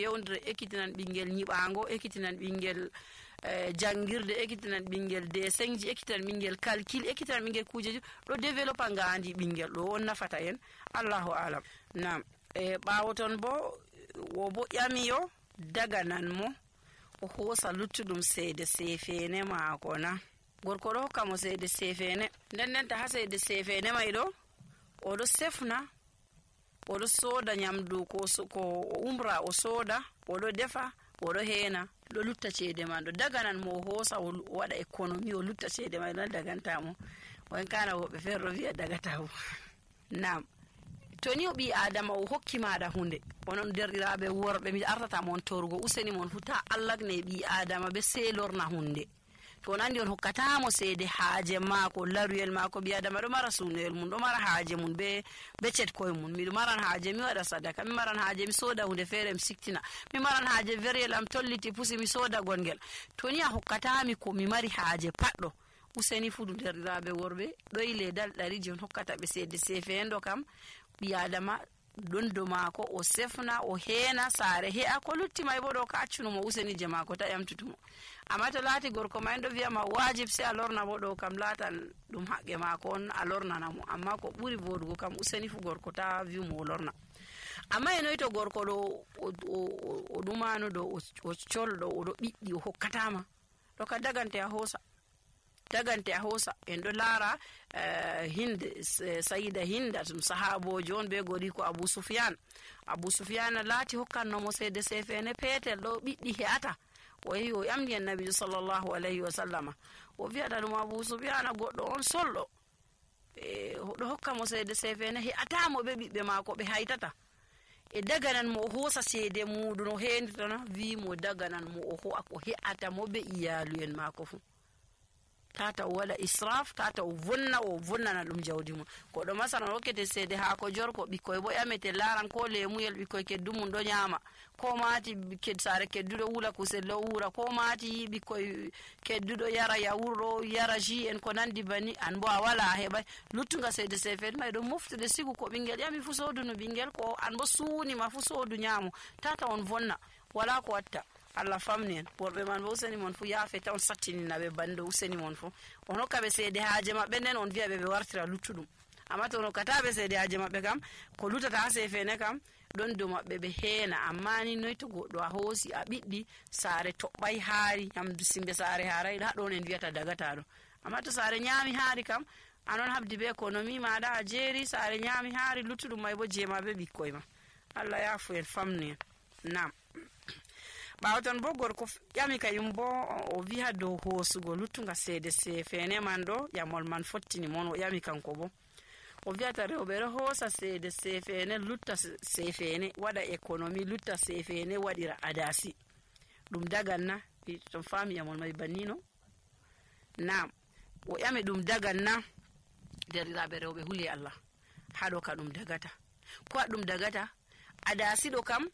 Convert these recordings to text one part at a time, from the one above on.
yewndira ekkitinan ɓingel nyiɓango, ekkitinan ɓingel jangirde, ekkitinan ɓingel desengji, ekkitinan ɓingel calcul, ekkitinan ɓingel kujeji ɗo développa ngandi ɓingel ɗo on nafata en. Allahu alam. Nam ɓawo ton bo wo bo ƴamiyo daganan mo o hoosa luttuɗum seede sefene maako na. Gorko ɗo hokka mo seede sefene, ndendenta ha seede sefene may ɗo oɗo sefna, oɗo sooda nyamdu ko umra o sooda, oɗo defa, oɗo heena, ɗo lutta ceede man ɗo. Daganan mo o hoosa o waɗa économie o lutta ceede may ɗon dagantamo. On kana woɓɓe feere ɗo wi'a dagatamo. Nam to ni o ɓi adama o hokki maɗa hunde, onon derɗiraɓe worɓe mi artata mon torugo, useni mon fu ta allagne ɓi adama be selorna hunde. To on andi on hokkatamo seede haaje maako, laruyel maako. Ɓi adama ɗo mara sunoyel mum, ɗo mara haaje mum be cetkoye mum. Miɗo maran haaje mi waɗa sadaka, mi maran haaje mi sooda hunde feere mi siktina, mi maran haaje veriyel am tolliti pusi mi sooda gongel. To ni a hokkatami ko mi mari haaje paɗɗo, useni fu derɗiraɓe worɓe ɗoyi ledal ɗariji on hokkata ɓe seede sefendo kam. Ɓi adama dondo maako o sefna o heena saare he'a ko lutti may bo ɗo ka accunumo useni je maako ta ƴamtutumo. Amma to laati gorko may ɗo wiyama wajib se a lorna bo ɗo kam laatan ɗum haqqe maako on a lornanamo. Amma ko ɓuri vodugo kam useni fu gorko ta wi'umo o lorna. Amma e noyi to gorko ɗo o ɗumano ɗo o colɗo oɗo ɓiɗɗi o hokkatama ɗo ka dagante a hoosa. Dagante a hoosa. En ɗo laara sayida hinda tum sahabojo on be gori ko Abu Sufyan laati hokkannomo seede sefene peetel ɗo ɓiɗɗi he'ata. O yehi o ƴamdi en nabijo sallllahu alayhi wa sallama, o wi'ata ɗum Abu Sufyan goɗɗo on solɗo, ɗo hokka mo seede sefene he'atamo ɓe ɓiɓɓe maako ɓe haytata. E daganan mo o hoosa seede muɗum o henditana wi mo daganan mo o ho'a ko he'ata mo ɓe iyaluyen maako fu. Tata o waɗa israf, tata o vonnana ɗum jawdi mum. Koɗo masalan hokkete seede haako jorko, ɓikkoy bo ƴamete laran ko lemuyel ɓikkoy keddu mum ɗo nyama, ko maati saare kedduɗo wula kusel ɗo wura, ko maati ɓikkoy kedduɗo yara yawuro yara ji en ko nandi bani, an bo a wala a heɓay luttuga seede sefede may ɗo moftude sigu ko ɓingel ƴami fu sodunu ɓingel, ko an bo suunima fu sodu nyaamu. Tata on vonna wala ko watta. Allah famni en. Worɓe man bo useni mon fu yaafe ta on sattinina ɓe bando useni mon fu. On hokka ɓe seede haaje maɓɓe nden on wi'a ɓe wartira luttuɗum. Amma to on hokkata ɓe seede haaje maɓɓe kam, ko lutata ha sefene kam ɗon dow maɓɓe ɓe heena. Amma ni noy to goɗɗo a hoosi a ɓiɗɗi saare toɓɓay haari, nyamdu simbe saare haaray ha ɗon en wiyata dagataɗo. Amma to saare nyaami haari kam anon habdi be économie maɗa a jeeri, saare nyaami haari luttuɗum may bo jeema be ɓikkoy ma. Allah yaafu en famni en. Nam ɓawaton bo gorko ƴami kayum bo o wiha dow hoosugo luttuga seede sefene man ɗo, ƴamol man fottini mon. O ƴami kanko bo o wiyata rewɓe ɗo hoosa seede sefene lutta sefene waɗa économie lutta sefene waɗira adasi, ɗum daganna? Ton fami ƴamol may bannino. Nam o ƴami ɗum daganna? Derɗiraɓe rewɓe huli Allah haɗo ka ɗum dagata. Ko a ɗum dagata? Adasi ɗo kam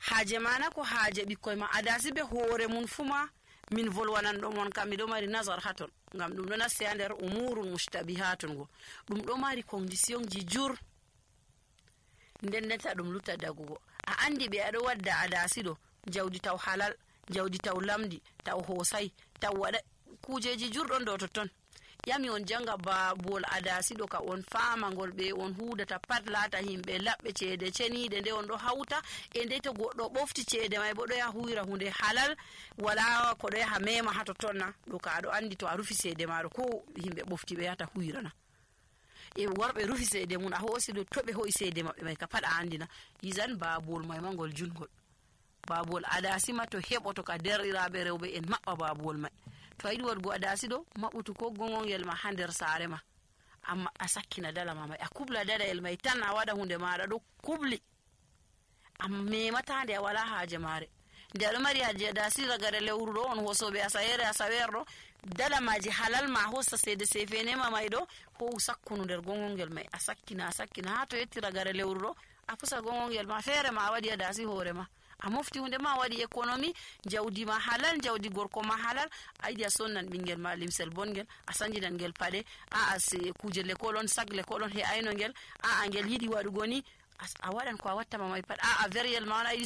haaje mana ko haaje ɓikkoy ma. Adasi be hoore mun fuma min volwanan ɗo mon kam miɗo mari nazar haton, ngam ɗum ɗo nasti ha nder umurun mustabihatun go. Ɗum ɗo mari condition ji jur, ndendenta ɗum lutta dagugo. A andi ɓe aɗo wadda adasi ɗo jawdi taw halal, jawdi taw lamdi, taw hoosay, taw waɗa kujeji jurɗon ɗo totton. Yami on janga babuwol adasi ɗo ka on fama ngol ɓe on hudata pat laata himɓe laɓɓe ceede ceniɗe nde on ɗo hawta e nde to goɗɗo ɓofti ceede may bo ɗo yaha huwira hunde halal, wala ko ɗo yaha mema ha tottonna ɗo ka aɗo andi to a rufi seede maɗo ko himɓe ɓofti ɓe yahata huwirana. E worɓe rufi seede mum a hoosi ɗo to ɓe ho'i seede maɓɓe may ka pat a andina yisan babuwol may ma ngol jungol. Babuwol adasi ma to heɓoto ka derɗiraɓe rewɓe en maɓɓa babuwol may. To a yiɗi waɗgo adasi ɗo maɓɓutu ko gongongel ma ha nder saare ma, amma a sakkina dalama may, a kubla dadayel may tan, a waɗa hunde maɗa ɗo kubli, a mematande a wala haaje mare. Nde aɗo mari haaje adasi ragare lewru ɗo on hosoɓe asawer ɗo dalamaji halal ma hosta seede sefenema may ɗo howu sakkunu nder gongongel may, a sakkina ha to yetti ragare lewru ɗo a pusa gongongel ma feere ma a waɗi adasi hoore ma, a mofti hunde ma waɗi économie, jawdi ma halal, jawdi gorko ma halal. A yiɗi a sonnan ɓingel ma limsel bongel, a sanjinan ngel paɗe, kuje lekol on sag lekol on he'ayno ngel, ngel yiɗi waɗugo ni a waɗan ko a wattama may pat, veriyel ma on a yiɗi